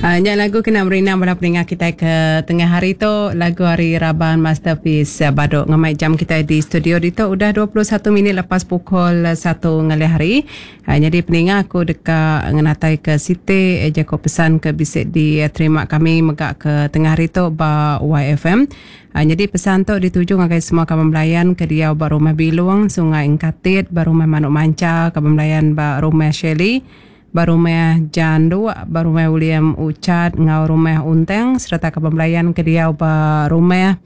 Nya lagu kena merindang bala peninga kitai ke tengah hari tu lagu ari raban Masterpiece Badu ngemai jam kitai di studio ditu udah 21 minit lepas pukul satu ngalih hari. Nyadi peninga aku deka ngenatai ke siti jaku pesan ke bisi diterima kami mega ke tengah hari tu ba YFM. Nyadi pesan tu dituju ngagai semua kaban belayan ke diau ba Rumah Bilung, Sungai Engkatit, ba Rumah Manuk Mancha, kaban belayan ba Rumah Shelley, ba Rumah Janduk, ba Rumah William Uchat enggau Rumah Unteng sereta kaban belayan ke diau ba Rumah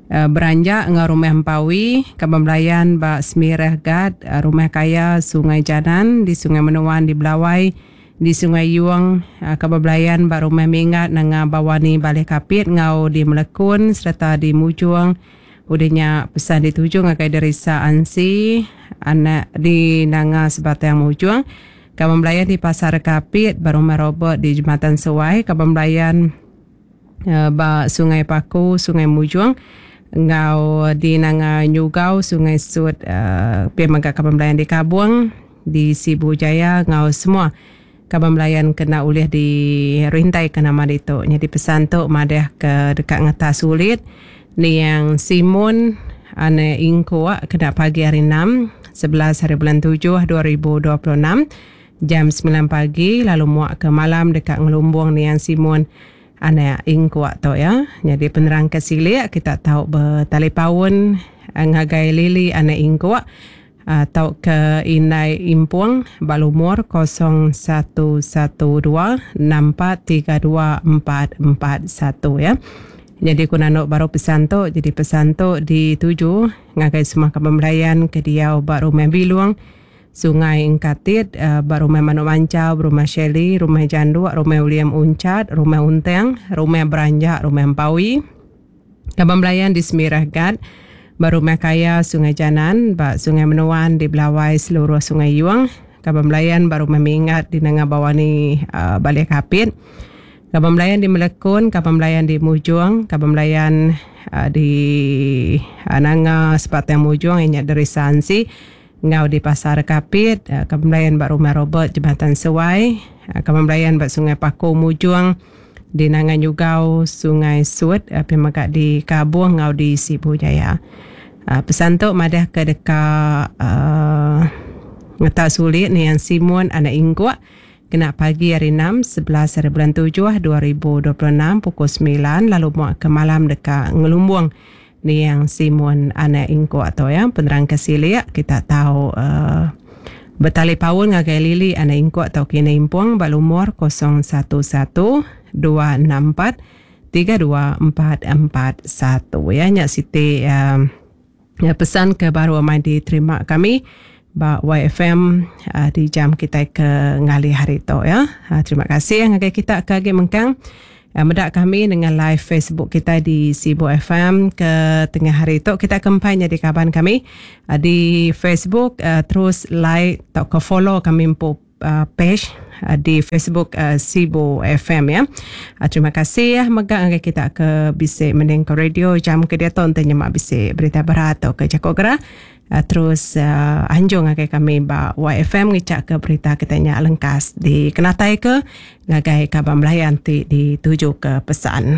Beranjak enggau Rumah Empawi, kaban belayan ba Semirah Gat, Rumah Kaya, Sungai Janan, di Sungai Menuan di Belawai, di Sungai Yung, kaban belayan ba Rumah Minggat Nanga Bawani Baleh Kapit enggau di Melekun sereta di Mujong. Udah nya pesan dituju ngagai Derisa Ansi anak di Nanga Sebatang Mujong. Kaban belayan di Pasar Kapit ba Rumah Robert di Jematan Suai, kaban belayan ba Sungai Paku, Sungai Mujong enggau di Nanga Nyugau, Sungai Sut pia mega kaban belayan di Kabong, di Sibu Jaya enggau semua kaban belayan ke enda ulih dirintaika nama ditu. Nyadi pesan tu madah ke deka ngetas ulit niang Simun anak Ingkuk kena pagi hari enam, 11 hari bulan tujuh 2026 jam semilan pagi lalu muak ke malam deka ngelumbung niang Simun anak Ingkuk tu iya. Nyadi penerang ke silik kita tau betalipaun ngagai Lily anak Ingkuk tauka indai Impung ba lumur 0112 6432 441 ya. Nyadi ku nandu baru pesan tu, jadi pesan tu dituju ngagai semua kaban belayan ke diau ba Rumah Bilung, Sungai Engkatit, ba Rumah Manuk Manchau, Rumah Shelley, Rumah Janduk, Rumah William Unchat, Rumah Unteng, Rumah Beranjak, Rumah Empawi. Kaban belayan di Semirah Gat, ba Rumah Kaya Sungai Janan, ba Sungai Menuan di Belawai seluruh Sungai Yung, kaban belayan ba Rumah Minggat di Nanga Bawani Baleh Kapit, kaban belayan di Melekun, kaban belayan di Mujong, kaban belayan di Nanga Sebatang Mujong iya nya Derisa Ansi enggau di Pasar Kapit, kaban belayan ba Rumah Robert Jematan Sewai, kaban belayan ba Sungai Paku Mujong, Di Nanga Nyugau, Sungai Sut, pia mega di Kabong enggau di Sibu Jaya. Pesan tu madah ke deka ngeta sulit niang Simun anak Ingguk kena pagi hari enam, 11 hari bulan tujuh 2026 pukul semilan lalu muak ke malam deka ngelumbung niang Simun anak Ingguk tu ya. Penerang ke silik kita tau Betalipaun ngagai Lily anak Ingkuk tauka Indai Impung ba lumur 011 264 32441 ya nya siti pesan ke baru amai diterima kami ba YFM di jam kitai ke ngalih hari tu ya. Terima kasih ngagai kita ke agi mengkang. Meda kami nengah live Facebook kitai di Sibu FM ke tengah hari tu kita ke empai nyadi kaban kami di Facebook terus like tauka follow kami empu page di Facebook Sibu FM ya. Terima kasih mega ngagai kita ke bisi mending ke radio jam ke diatu enti nyema bisi berita berat tauka jaku gerah. Terus anjung ngagai kami ba YFM ngichaka berita kita nya lengkas dikenataika ngagai kaban belayan ti ditujuka pesan.